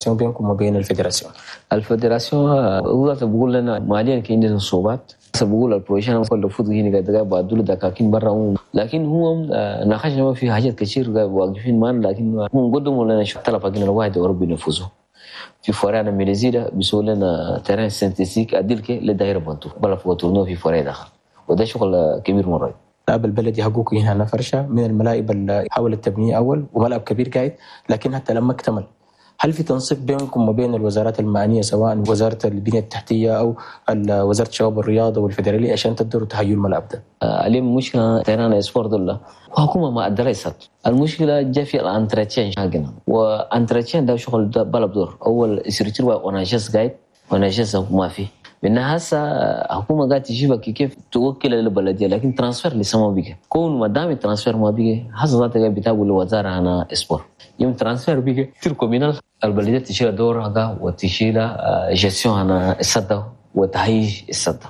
بينكم وبين ال fédération؟ ال fédération هو بقول لنا ماليا كان عندنا صعوبات، بقول ال projet انا المفروض هنا قاعد بعدوا دكاكين برا، لكن هو ناقشنا في حاجات كثير واقفين معنا، لكن هم قدموا لنا طلب حقنا الواحد وربي ينفذه. في forêt انا ميليزيدا بيسووا لنا terrain synthétique اديلك لدايره بنتو بلا فوق tournoi في forêt داخل، وده شغل كبير مرة. الملعب البلدي حقوق هنا فرشه من الملاعب اللي حاولت تبنيه اول، وملعب كبير قاعد، لكن حتى لما اكتمل هل في تنسيق بينكم وبين الوزارات المعنية، سواء وزارة البنية التحتية او وزارة الشباب والرياضة والفدراليه، عشان تقدروا تهيئوا الملعب ده؟ اليوم مشكلة terrain sport دول وحكومة ما ادرست المشكلة جا في ال entretien حقنا، و entretien ده شغل بلد دور اول structure ONAGES قاعد ONAGES ما في من هسه حكومة قاعد تجيبك كيف توكل البلدية، لكن transfert لسه ما بيجي. كون ما دام ال transfert ما بيجي هسه ذاتك بتقول الوزارة انا sport يوم transfert بيجي titre communal البلدية تشيل دورها وتشيل gestion انا السده وتهيج السده.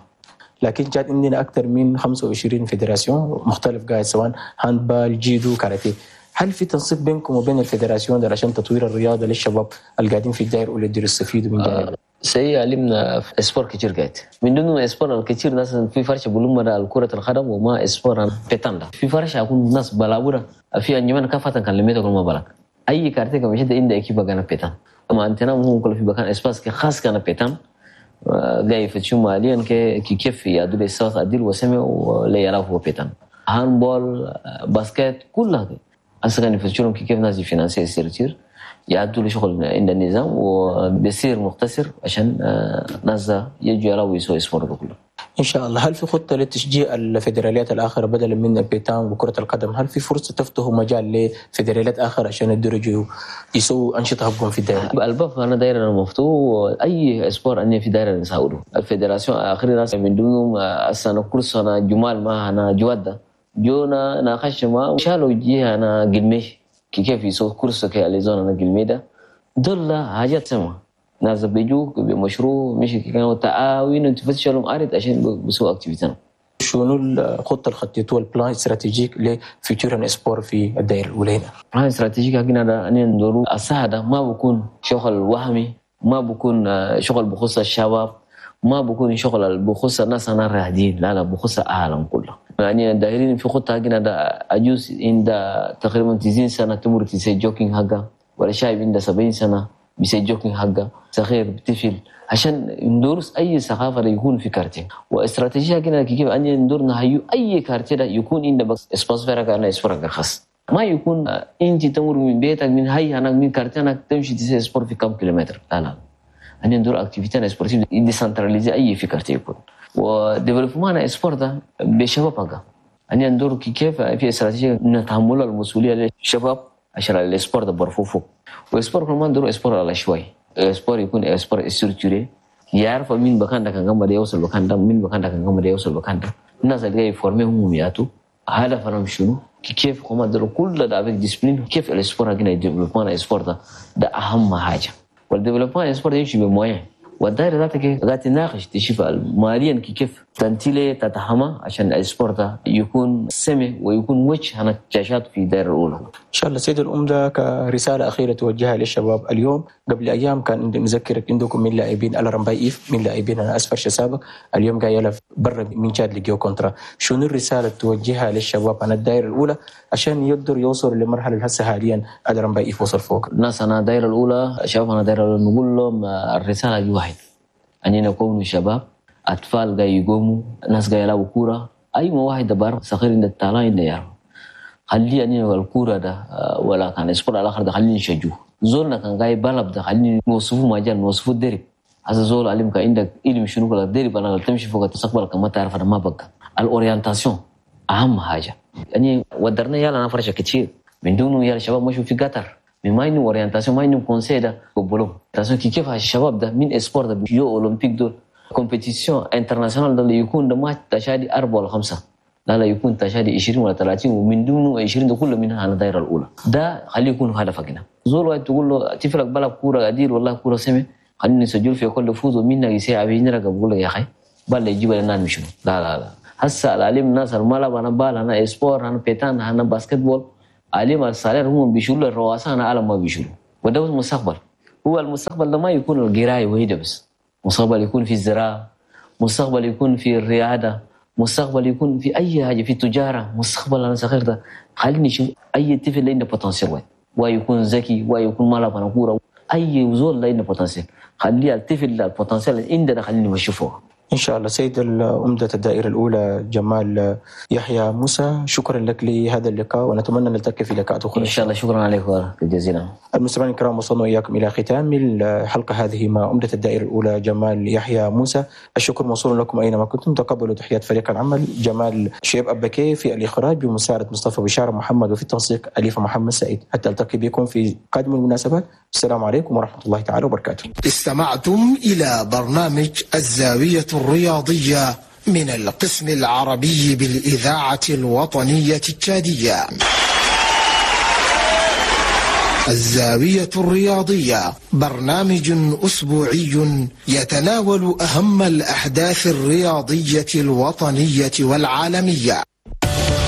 لكن جات عندنا اكثر من 25 fédération مختلف قاعد، سواء handball، جيدو، كاراتيه. هل في تنسيق بينكم وبين ال fédération ده عشان تطوير الرياضة للشباب اللي قاعدين في الدائرة واللي يقدروا يستفيدوا من جانب؟ سي علمنا sport كتير قاعد من دون sport الكثير ناس في فرشة بلوم كرة القدم وما sport pétanque في فرشة أكون ناس بلابورة في أنجمان كفة كان لميته كل ما بالك أي quartier كم مشيت عند équipe كان pétanque أما أنتنا هم كل في مكان espace خاص كان pétanque جاي يفتشوا ماليا كي كيف يعدوا الصوت أديل وسمع ولا يلعبوا pétanque handball basket كلها هسه كان يفتشوا كيف ناس ي financer structure يعدوا لشغل عند النظام وبيصير مختصر عشان ناس يجوا يلعبوا يسووا sport كله. ان شاء الله. هل في خطه لتشجيع الفيدراليات الاخرى بدلا من ال pétanque وكره القدم؟ هل في فرصة تفتحوا مجال لفيدراليات اخرى عشان يدرجوا يسووا انشطة حقهم في الدائرة؟ الباب انا دايرة مفتوح، اي sport اني في دايرة نساوده ال fédération اخر ناس من دونهم السنة كل سنة جمال ما انا جواده جونا ناقش ما شالوا جيه انا قلمي كيف يسووا course كي les zones انا قلمي ده دول حاجات سما ناس بيجوا بمشروع مش كانوا تعاون تفتشوا لهم ارض عشان بيسووا activité. شنو الخطة اللي خطيتوها ال plan stratégique ل futur sport في الدائرة الاولى هنا؟ plan stratégique حقنا ده ان ندورو الساعة ما بكون شغل وهمي، ما بكون شغل بخص الشباب، ما بكون شغل بخص الناس انا راهدين، لا لا بخص العالم كله. يعني دايرين في خطه حقنا ده عجوز عند تقريبا 90 سنة تمر تسي jogging حقه، ولا شايب عند 70 سنة بيسي jogging حقه، صغير طفل، عشان ندرس اي ثقافة يكون في quartier. واستراتيجيه كده كيف ان ندور نهيو اي quartier ده يكون عند بس espace vert انا sport خاص، ما يكون انت تمر من بيتك من هاي هناك من quartier هناك تمشي تسي sport في كم كيلومتر، لا لا ان ندور activité sportive décentralisée اي في quartier يكون. و développement sport ده بشباب حقه ان ندور كيف في استراتيجية نتحمل المسؤولية للشباب عشان ال sport ده برفو فوق. و sport كمان ندور sport على شوي sport يكون sport structuré يعرف مين بكان ده كان قام يوصل بكان ده، مين بكان ده كان قام يوصل بكان ده، الناس اللي جاي former هم ياتو هدف انا شنو كيف هم دول كل ده avec discipline كيف ال sport حقنا développement sport ده اهم حاجة. وال développement sport يمشي ب moyens، والدائره ذاتك قاعد تناقش تشوف ماليا كيف تنتيلي تتحمى عشان ال sport ده يكون سمي ويكون وجه هنا شاشات في الدائرة الاولى. ان شاء الله. سيد الأمدة كرسالة اخيرة توجهها للشباب اليوم، قبل ايام كان نذكرك عندكم من لاعبين الرمباي ايف من لاعبين انا اسفر شسابق اليوم قاعد يلعب برا من تشاد لقيو contrat، شنو الرسالة توجهها للشباب عن الدائرة الاولى عشان يقدروا يوصلوا لمرحلة هسه حاليا الرمباي ايف وصل فوق؟ الناس انا الدائرة الاولى شباب انا الدائرة الاولى نقول لهم الرسالة دي واحد، اننا نكون شباب اطفال جاي يقوموا ناس جاي يلعبوا كورة، اي ما واحد دبر صغير عند التالا عند يعرف خلي اني الكورة ده ولا كان sport الاخر ده خليني نشجوه، زولنا كان جاي بلب ده خليني نوصفه مجال نوصفه الدرب، هذا زول علمك عندك علم شنو ولا الدرب انا تمشي فوق تستقبل ما تعرف انا ما بقى ال orientation اهم حاجة. يعني ودرنا يلا انا فرشه كتير من دونه يا الشباب مشوا في قطر من ما انه orientation ما انه conseil ده قبلوا كيف الشباب ده من sport ده يو اولمبيك دول compétition internationale ده اللي يكون ده ما تشادي 4 ولا 5، لا لا يكون تشادي 20 ولا 30 ومن دونه 20 ده كله منها على الدائرة الاولى. ده خليه يكون هدفك هنا. زول واحد تقول له تفرق بلعب كورة قدير والله كورة سمي خليني نسجل في كل فوز ومنا يسيع بينا بقول لك يا اخي بل يجيب لنا مشنو. لا لا لا هسه العلم الناس الملعب انا بال انا sport انا pétanque انا basket-ball علم ال salaire هم بيشيلوا الرواسه انا عالم ما بيشيلوا، وده المستقبل. هو المستقبل ده ما يكون القراية وحيدة بس، مستقبل يكون في الزراعة، مستقبل يكون في الرياضة، مستقبل يكون في اي حاجة، في التجارة. مستقبل انا صغير ده خليني نشوف اي طفل اللي عنده potentiel وين، ويكون ذكي ويكون ما لعب كورة، اي زول اللي عنده potentiel، خلي الطفل ال potentiel اللي عنده خليني نشوفه. إن شاء الله. سيد عمدة الدائرة الأولى جمال يحيى موسى، شكرا لك لهذا اللقاء ونتمنى أن نلتقي في لقاءات أخرى إن شاء الله. شكرا عليكم جزيلا. المستمعين الكرام، وصلنا إياكم إلى ختام الحلقة هذه مع عمدة الدائرة الأولى جمال يحيى موسى. الشكر موصول لكم أينما كنتم. تقبلوا تحيات فريق العمل جمال شيب أبكي في الإخراج بمساعدة مصطفى بشارة محمد، وفي التنسيق أليفة محمد سعيد. حتى ألتقي بكم في قادم المناسبات. السلام عليكم ورحمة الله تعالى وبركاته. استمعتم إلى برنامج الزاوية الرياضية من القسم العربي بالإذاعة الوطنية التشادية. الزاوية الرياضية برنامج أسبوعي يتناول أهم الأحداث الرياضية الوطنية والعالمية.